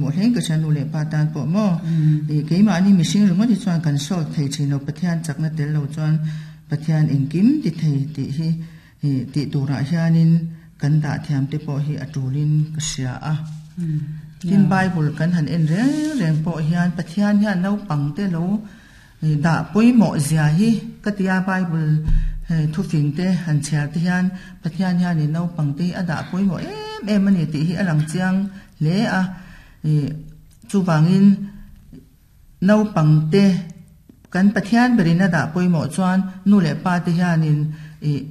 Hmuh hleng ka hria nu leh pa tan pawh maw? Ih keimahni mihring ringawt hi chuan kan solve thei thin lo, Pathian chakna tel lo chuan Pathian engkim ti thei tih hi ih tih turah hianin kan dah thiam te pawh hi a tulin ka hria a. Tin Bible kan han en reng reng pawh hian Pathian hian naupang te lo dah pawimawh zia hi ka tia Bible thufing te han chhiar te hian Pathian hianin naupang te hi a dah pawimawh em em a ni tih hi a lang chiang hle a. Ih chuvangin naupang te kan Pathian berin a dah pawimawh chuan nu leh pa te hianin ih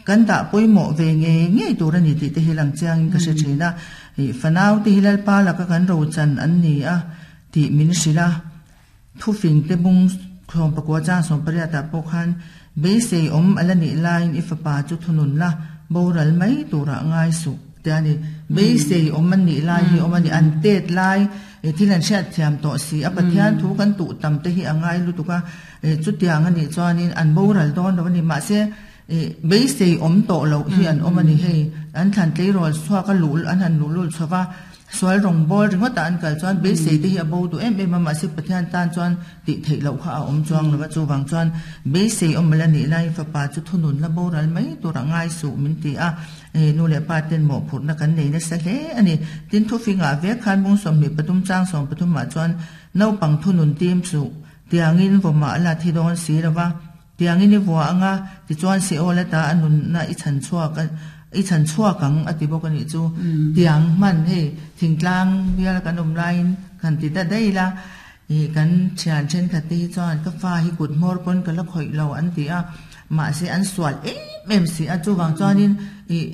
kan dah pawimawh ve ngei ngei tur a ni tih te hi lang chiangin ka hre thin a. Ih fanau te hi Lalpa laka kan rochan an ni a tih min hrilh a. Thufing te bung thlawm pakua chang 18 ah pawh khan beisei awm a la nih laiin i fapa chu thunun la, boral mai turah ngai suh te a ni. Beisei awm a nih lai hi awm a ni. An tet lai thil an hriat thiam tawh si a, Pathian thu kan tuh tam te hi a ngai lutuk a, chutiang a nih chuanin an boral dawn lo a ni. Mahse, beisei awm tawh loh hi an awm a ni. Hei an thlan tleirawl chhuak a luh an han luh lul chho va. Sual rawngbâwl ringawtah an kal chuan beisei te hi a bo duh em em a, mahse Pathian tân chuan tih theih loh kha a awm chuang lo va, chuvang chuan beisei awm la nih laiin fapa chu thunun la boral mai turah ngai suh min ti a, nu leh pa ten mawhphurhna kan nei nasa hle a ni. Tin, thufingah vek khan bung 23 chang 13 ah chuan naupang thunun tim suh tiangin vawmah la thi dawn si lo va, Tiangin i vua anga, tichuan Seol ata a nunna i chhan chhuak a, i chhan chhuak ang a ti bawk a nih chu. Tiang hman hei thingtlang bial kan awm laiin kan ti ta daih la, ih kan thian thenkhat te hi chuan ka fa hi kut hmawr pawn ka la khawih lo an ti a, mahse an sual em em si a, chuvang chuanin ih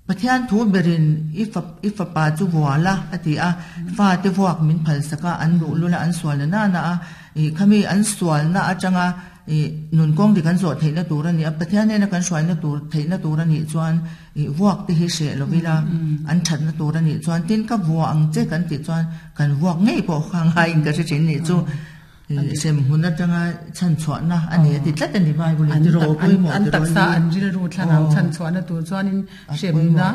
Pathian thu berin i fa i fapa chu vua la a ti a, fate vuak min phalsak a, an luh lul a, an sual na nana a, ih khami an sualna atanga ih nun kawng dik an zawh theihna tur a ni a, Pathian hnena kan hruaina tur theihna tur a nih chuan ih vuak te hi hreh lo ila an thatna tur a nih chuan tin ka vua ang che kan tih chuan kan vuak ngei pawh kha ngaiin ka hre thin nih chu. Sem hmun atanga chhan chhuahna a ni a ti tlat a ni Bible in tiraw pawimawh an taksa an rilru thlarau chhan chhuahna tur chuanin hremna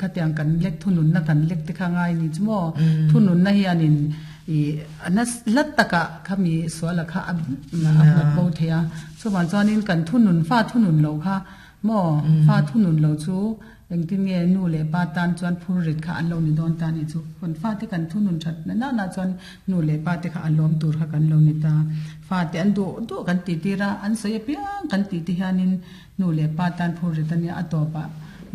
khatiang kan lek thununna kan lek te kha ngai ni chu maw thununna hianin i ana hlat takah khami suala kha a hnawt bo thei a chuvang chuanin kan thunun fa thunun loh kha Maw? Fa thunun lo chu engtin nge nu leh pa tan chuan phur rit kha an lo ni dawn ta nih chu. Kan fate kan thunun that na nana chuan nu leh pa te kha a lawm tur kha kan lo ni ta. Fate an duh duh kan tih tir a, an sawi apiang kan tih te hianin nu leh pa tan phur rit a nia a tawpah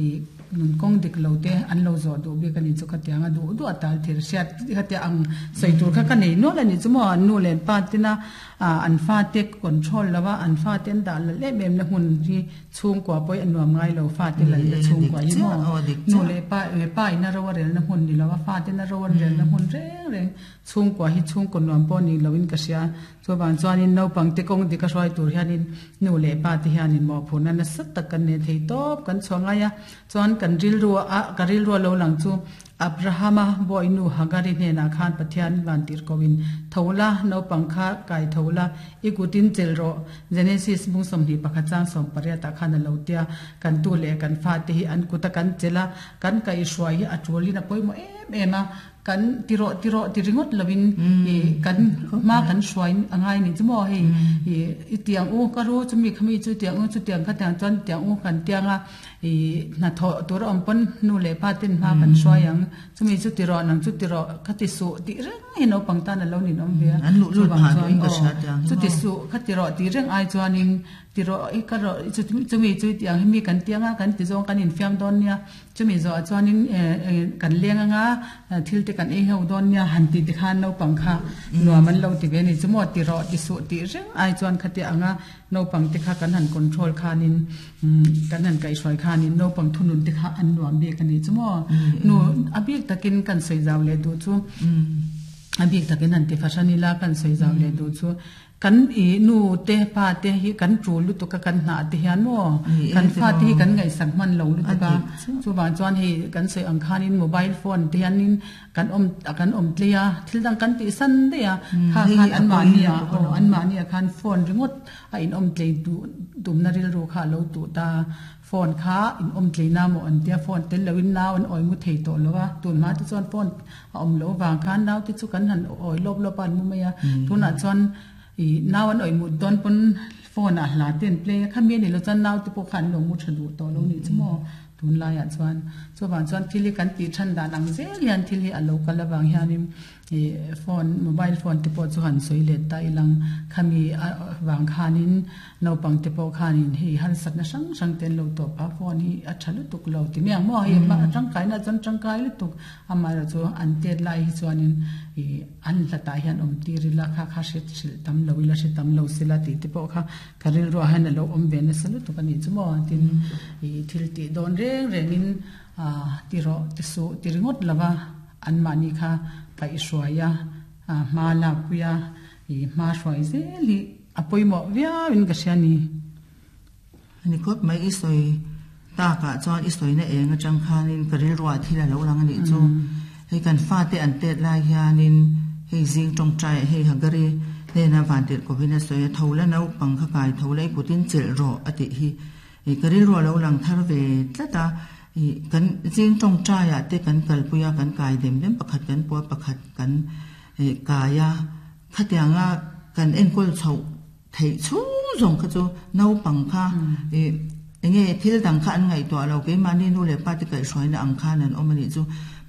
ih nun kawng dik lo te an lo zawh duh bik a nih chu ka tiang a duh duh a tal thil hriat khatia ang sawi tur kha ka nei nual a nih chu maw nu leh pa tina Ah an fate control lo a, an fate an dah lal em em na hmun hi chhungkua pawh hi a nuam ngai lo, fate lalna chhungkua hi maw nu leh pa pa in a ro a relna hmun ni lo a, fate in a ro an relna hmun reng reng chhungkua hi chhungkaw nuam pawh ni lo in ka hria, chuvang chuanin naupang te kawng dik a hruai tur hianin nu leh pa te hianin mawhphurhna nasa tak kan nei thei tawp kan chhuah ngai a, chuan kan rilru a ka rilru a lo lang chu Abrahama bawihnu Hagari hnenah khan Pathian vantirhkohin, Tho la, naupang kha kai tho la, i kutin chelh rawh, Genesis bung 21 chang 18 ah khan a lo tia. Kan tu leh kan fate hi an kuta kan chelh a, kan kaihhruai hi a tulin a pawimawh em em a, kan ti rawh ti rawh ti ringawt lovin kan hma kan hruai a ngai nih chu maw hei i tiang u ka ru chumi khami chu tiang u chutiang khatiang chuan tiang u kan tiang a. I hnathawh tur a awm pawn nu leh pa ten hma kan hruai ang, chumi chu ti rawh nang chu ti rawh kha ti suh tih reng hi naupang tan a lo nin awm ve a, chuvang chuan aw chu ti suh kha ti rawh tih reng ai chuanin ti rawh i ka rawh chumi chu i ti ang hi mi kan tiang a kan ti zawng kan infiam dawn nia, chumi zawhah chuanin kan leng anga thil te kan ei ho dawn nia han tih te khan naupang kha nuam an lo ti ve a ni chu maw ti rawh ti suh tih reng ai chuan khatia anga Naupang te kha kan han control khanin kan han kaihhruai khanin naupang thunun te kha an nuam bik a ni chu maw? Nu a bik takin kan sawi zau leh duh chu a bik takin han ti fahran ila kan sawi zau leh duh chu kan i nu te pa te hi kan tul lutuk a kan hnah te hian maw kan fa te hi kan ngaihsak hman lo lutuk a chuvang chuan hei kan sawi ang khanin mobile phone te hianin Kan awm a kan awm tlei a, thil dang kan tih san daih a, kha khan anmahni ah aw anmahni ah khan phone ringawt a in awm tlei duh tumna rilru kha a lo tuh ta. Phone kha in awm tlei na maw an tia, phone tel loin nau an awi mu thei tawh lo a, tun hma te chuan phone a awm loh avang khan nau te chu kan han awi lawp lawp a an mu mai a, tunah chuan ih nau an awi mut dawn pawn phone ah hla te an play a, khami a nih loh chuan nau te pawh kha an lo mu tha duh tawh lo nih chu maw tunlaiah chuan. Chuvang chuan thil hi kan tih than dan ang zel hian thil hi a lo kal avang hianin Ih phone mobile phone te pawh chu han sawi let ta ilang khami vang khanin naupang te pawh khanin hei harsatna hrang hrang te an lo tawp a phone hi a tha lutuk lo ti mai ang maw hei tangkai na chuan tangkai lutuk amaherawh chu an tet lai hi chuanin ih an hlatah hian awm tir ila kha kha hre hrilh tam lo ila hre tam lo sela tih te pawh kha ka rilruah hian a lo awm ve nasa lutuk a nih chu maw tin ih thil tih dawn reng rengin ti rawh ti suh ti ringawt lova. Anmahni kha kaihhruai a, hma lakpui a, ih hma hruai zel hi a pawimawh viau in ka hria ni. Ani khawp mai i sawi takah chuan i sawina eng atang khanin ka rilruah thil a lo lang a nih chu. Hei kan fate an tet lai hianin hei zing tawngtai ah hei Hagari hnena vantirh kovin a sawi a, tho la naupang kha kai tho la i kutin chelh rawh a tih hi Ih ka rilru a lo lang thar ve tlat a, ih kan zing tawngtai ah te kan kalpui a, kan kai dem dem pakhat kan pua pakhat kan ih kai a, khatianga kan enkawl chhoh theih chhung zawng kha chu naupang kha ih enge thil dang kha an ngaihtuah lo keimahni nu leh pa te kaihhruaina ang khan an awm a nih chu.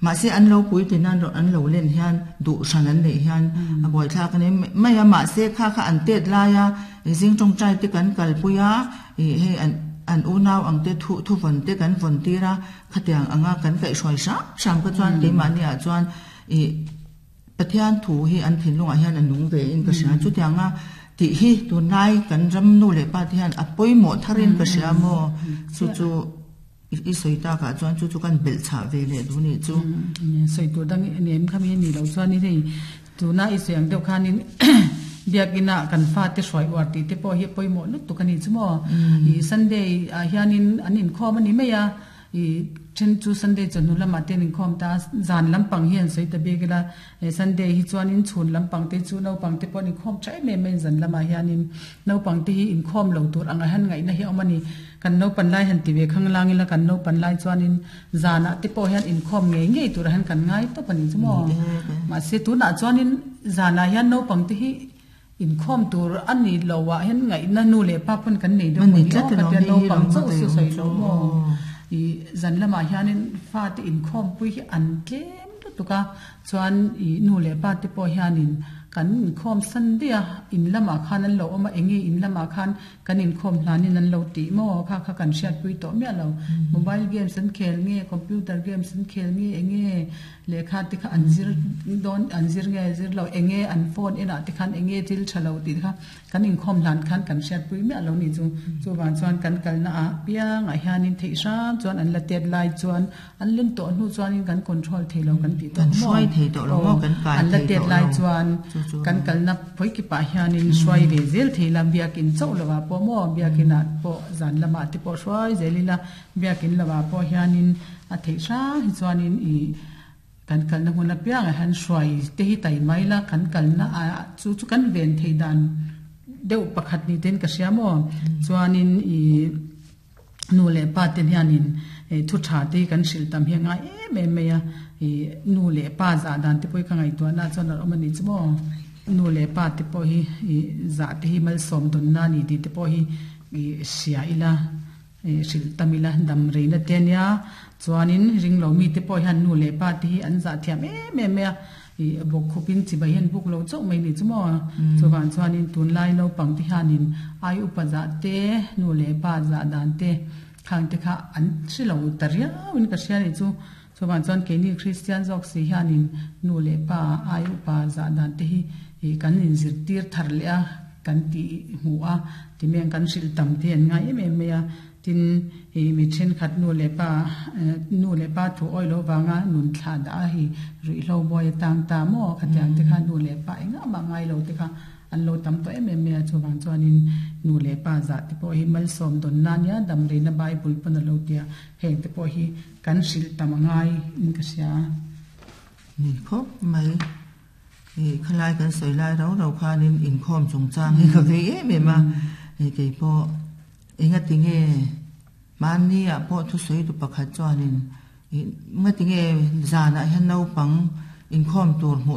Mahse an lo pui tin a an lo len hian duh hran an neih hian a buaithlak a ni mai a, mahse kha kha an tet lai a zing tawngtai te kan kalpui a. Ih hei an an unau ang te thu thu vawn te kan vawn tir a, khatiang anga kan kaihhruai hram hram kha chuan keimahni ah chuan ih Pathian thu hi an thinlungah hian a nung ve in ka hria. Chutianga tih hi tunlai kan ram nu leh pa te hian a pawimawh thar in ka hria maw? Chu chu i sawi takah chuan chu chu kan belh chhah ve leh duh nih chu. Sawi tur dang nem kha mi a nih loh chuan hei Tuna i sawi ang deuh khanin biakina kan fate hruai uar tih te pawh hi a pawimawh lutuk a ni chu maw. Ih Sunday ah hianin an inkhawm a ni mai a, ih then chu Sunday chawhnu lamah te an inkhawm ta a, zan lampang hi an sawi ta bik ila, Sunday hi chuanin chhun lampang te chu naupang te pawh an inkhawm tha em em mai zan lamah hianin naupang te hi inkhawm lo tur anga hian ngaihna hi a awm a ni. Kan naupan lai han ti ve khang lang ila kan naupan lai chuanin Zanah te pawh hian inkhawm ngei ngei turah hian kan ngai tawp a ni chu maw? Mahse tunah chuanin zanah hian naupang te hi inkhawm tur a ni lo ah hian ngaihna nu leh pa pawn kan nei deuh maw ni aw ka tia naupang chauh chu sawi lo maw? Ih zan lamah hianin fate inkhawm pui hi an tlem lutuk a, chuan ih nu leh pa te pawh hianin kan inkhawm san daih a, in lamah khan an lo awm a, enge in lamah khan Kan inkhawm hlanin an lo tih maw? Kha kha kan hriatpui tawh miah lo. Mobile games an khel nge, computer games an khel nge, enge lehkha te kha an zir dawn, an zir nge zir lo, enge an phone enah te khan enge thil tha lo tih te kha kan inkhawm hlan khan kan hriatpui miah lo nih chu. Chuvang chuan kan kalna ah piangah hianin theih hram chuan an la tet lai chuan An len tawh hnu chuanin kan control thei lo kan tih tawh maw? Aw, an la tet lai chuan kan kalna phawi kipah hianin hruai ve zel thei la, biakin chauh lovah pawh maw, biakinah pawh zan lamah te pawh hruai zel ila, biakin lovah pawh hianin a theih hrang hi chuanin ih kan kalna hmun apiangah hian hruai te hi tai mai la, kan kalna ah chu chu kan ven theih dan deuh pakhat ni ten ka hria maw? Chuanin ih. Nu leh pa te hianin thu tha te hi kan hrilh tam hi a ngai em em mai a, ih nu leh pa zah dan te pawh hi ka ngaihtuahna ah chuan a awm a nih chu maw. Nu leh pa te pawh hi ih zah te hi malsawm dawnna a ni tih te pawh hi ih hria ila ih hrilh tam ila dam reina te a nia. Chuanin ringlo mi te pawh hian nu leh pa te hi an zah thiam em em mai a, Ih bawk khupin chibai hian buk lo chauh mai ni chu maw? Chuvang chuanin tunlai naupang te hianin ai upa zah te, nu leh pa zah dan te khang te kha an hre lo ta riauin ka hria ni chu. Chuvang chuan keini Kristian zawk si hianin nu leh pa ai upa zah dan te hi ih kan inzirtir thar leh a, kan tih hmuh a, timeng kan hrilh tam te an ngai em em mai a. Tin, i mi thenkhat nu leh pa, nu leh pa thu awih loh vanga nun thlah dah a hi ruihhlo buai a tang ta maw? Khatiang te kha nu leh pa engah mah ngai lo te kha an lo tam tawh em em mai a, chuvang chuanin nu leh pa zah te pawh hi malsawm dawn na nia damreina Bible pawn a lo ti a, heng te pawh hi kan hrilh tam a ngai in ka hria. Ni khawp mai. I khalai kan sawi lai rau rau khanin inkhawm chungchang hi ka vei em em a, kei pawh. Enga tinge Hmanni ah pawh thusawi tu pakhat chuanin ih ngatinge zanah hian naupang inkhawm tur hmuh